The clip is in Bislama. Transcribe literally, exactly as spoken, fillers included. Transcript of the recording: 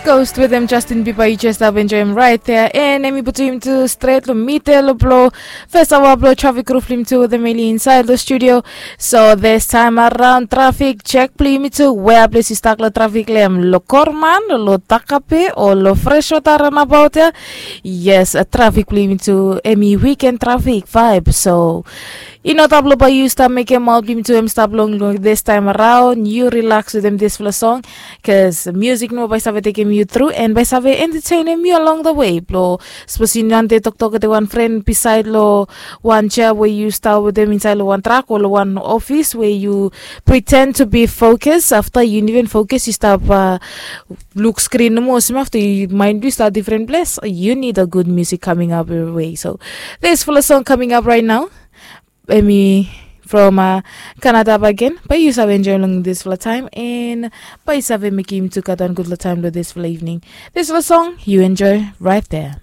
Ghost wetem Justin Bieber, yu jes stap enjoem raet ya. An em i putum yumi tu stret long midel blong fes aoa blong trafik ruf blong yumi tu wetem Eli insaed long studio. So this time around trafik jek blong yumi tu, wea ples yu stak long trafik long em, long Korman, long Takape o long Freshwater runabout ya? Yes, trafik blong yumi tu em i wiken trafik vaeb. So i no stap long bae yu stap mekem maot blong yumi tu em stap long long this time around. Yu rilaks wetem disfala song, bikos musik nomo bae save tekem yu tru an bae save entetenem yu along the way. Blong sapos yu nande toktok wetem wan fren bisaed long wan jea we yu stap wetem insaed long wan trak o long wan ofis we yu pretend to be focus, afta yu no even focus, yu stap luk skrin nomo olsem afta yu maen blong yu stap difren ples. You need a good music coming up your way. So disfala song coming up right now, em i from Canada bagen. Bae yu save enjoem long disfala taem an bae yu save mekem yumi tu gat wan gudfala taem long disfala evening. Disfala song yu enjoe right there.